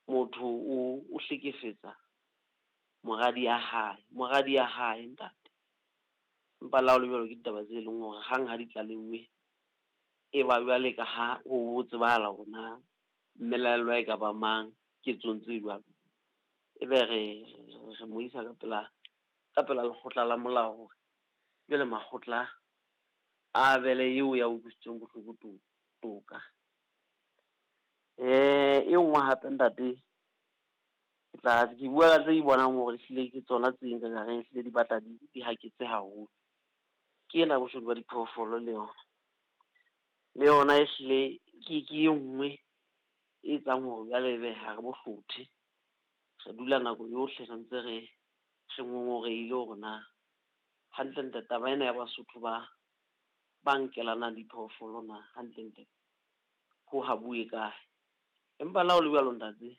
Motho o hlekefetsa moradi ya hae, moradi ya hae ntate. Empa le ha ho le jwalo ke ditaba tse leng hore hang ha di tlaleuwe, e ba jwale ka ha ho tsebahala hore na mmelaellwa e ka ba mang ketsong tse jwalo. E be re mo isa ka pela, ka pela lekgotla la molao hore jwale makgotla a abele eo ya utlwisitsweng bohloko toka. E nngwe hape ntate, ke tla ke bua ka tse ke bonang hore ehlile ke tsona tse nka ka reng ehlile di batla di haketse haholo. Ke ena boshodu ba diphoofolo le yona. Le yona ehlile ke e nngwe e etsang hore jwale ebe ha re bo hlothe. Re dula nako yohle re ntse re ngongorehile hore na hantlentle taba ena ya Basotho ba nkelanang diphoofolo na hantlentle ho habuwe kae. Empa le ha ho le jwalo ntate,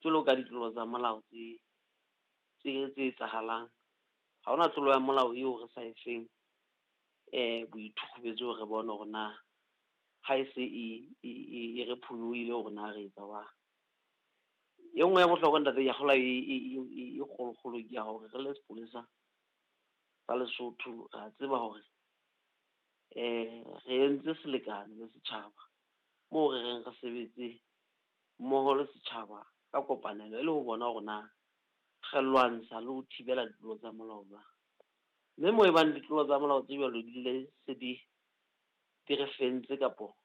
jwalo ka ditlolo tsa molao tse etsahalang, ha hona tlolo ya molao eo re sa e feng boithukhubetso re bone hore na ha e se e re phonyohile hore na re etsa jwang. E nngwe ya bohlokwa ntate ke a kgolwa e kgolokgolo ke ya hore re le sepolesa sa Lesotho re a tseba hore re entse selekane le setjhaba moo re reng re sebetse mmoho le setjhaba ka kopanelo e le ho bona hore na re lwantsha le ho thibela ditlolo tsa molao jwang. Mme moo e bang ditlolo tsa molao tse jwalo di le se di re fentse kapo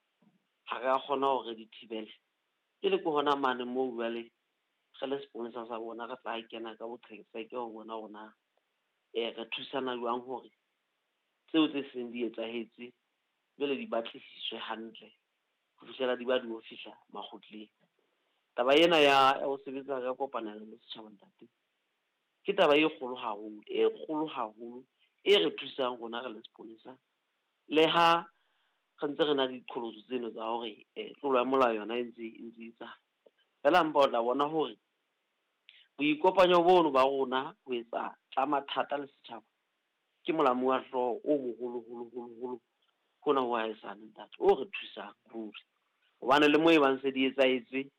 ha re a kgona hore re di thibele, ke le ke hona mane moo jwale re le seponesa sa bona re tla kena ka boqhetseke ho bona hore na re thusana jwang hore tseo tse seng di etsahetse jwale di batlisiswe hantle ho fihlela di ba di yo fihla makgotleng. Taba ena ya ho sebetsa ka kopanelo le setjhaba ntate, ke taba e kgolo haholo, e kgolo haholo e re thusang rona re le sepolesa. Le ha re ntse re na le diqholotso tseno tsa hore tlolo ya molao yona e ntse e ntse e etsahala. Feela mpa o tla bona hore boikopanyo bono ba rona ho etsa tsa mathata le setjhaba ke molamu wa hlooho o moholo holo holo holo hona ho haesale ntate, o re thusang ruri. Hobane le moo e bang se di etsahetse,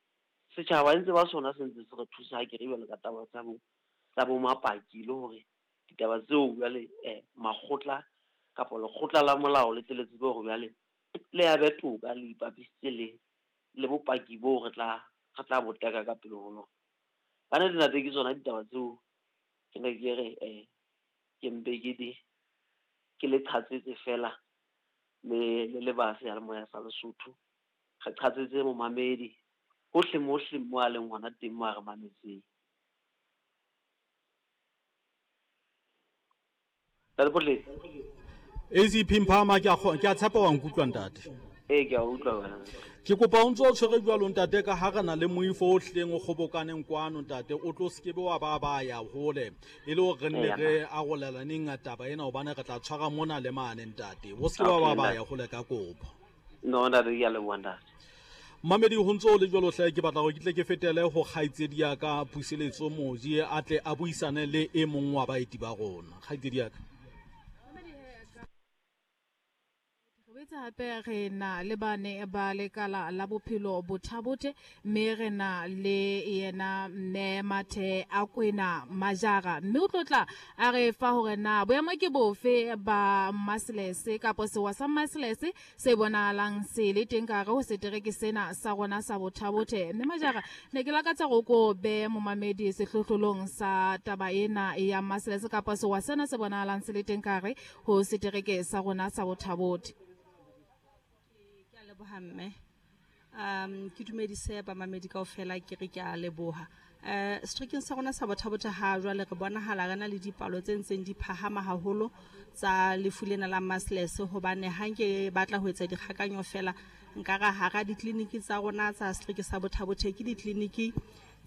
setjhaba ntse ba sona se ntse se re thusa ha ke re jwalo ka taba tsa bo mapaki le hore ditaba tseo jwale makgotla kapa lekgotla la molao le tle le tsebe hore jwale le abe toka le ipapisitse le bopaki boo re tla bo teka ka pele ho lona. Ka nnete ntate ke tsona ditaba tseo ke ne ke re ke mpe ke di ke le qhatsetse fela le ba seyalemoya sa Lesotho. Re qhatsetse momamedi hohle mohle mo a leng hona teng mo a re mametseng. ACP Mphama ke a tshepa wa nkutlwa ntate. Ee, ke a utlwa wena. Ke kopa o ntse o tshwere jwalo ntate ka ha re na le moifo o hleng o kgobokaneng kwano ntate, o tlo sekebe wa ba ya hole e le hore re nne re arolelaneng taba ena hobane re tla tshwara mona le mane ntate. O sekebe wa ba ya hole ka kopo. No ntate, ke a leboha ntate. Mamedi ho ntse o le jwalo hle, ke batla hore ke tle ke fetele ho kgaitsedi ya ka Puseletso Moji a tle a buisane le e mong wa baeti ba rona. Kgaitsedi ya ka. Re boetse hape re na le bane ba lekala la bophelo Bothabothe, mme re na le yena mme Mathe a Kwena Majara, mme o tlotla a re fa hore na boemo ke bofe ba Maselese kapa sewa sa Maselese se bonahalang se le teng ka hare ho setereke sena sa rona sa Bothabothe. Mme Majara, ne ke lakatsa hore ko be momamedi sehlohlolong sa taba ena ya Maselese kapa sewa sena se bonahalang se le teng ka hare ho setereke sa rona sa Bothabothe. Ke a leboha mme. Ke dumedise bamamedi kaofela, ke re ke a leboha. Seterekeng sa rona sa Bothabothe ha jwale re bonahala re na le dipalo tse ntseng di phahama haholo tsa lefu lena la Maselese, hobane ha nke batla ho etsa dikgakanyo fela nka ra hara ditleliniki tsa rona tsa setereke sa Bothabothe ke ditleliniki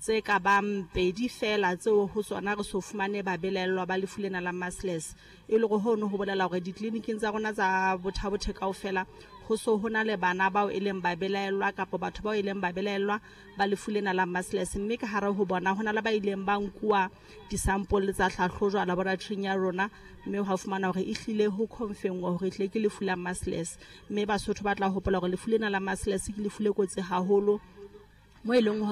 tse ka bang 2 fela tseo ho tsona re so fumane babelaellwa ba lefu lena la Maselese. E le hore hono ho bolela hore ditleliniking tsa rona tsa Bothabothe kaofela ho so ho na le bana bao e leng babelaellwa kapa batho bao e leng babelaellwa ba lefu lena la Maselese, mme ka hare ho bona ho na le ba ileng ba nkuwa disampole tsa hlahlojwa laboratoring ya rona, mme hwa fumana hore ehlile ho confirm-wa hore ehlile ke lefu la Maselese. Mme Basotho ba tla hopola hore lefu lena la Maselese ke lefu le kotsi haholo mo e leng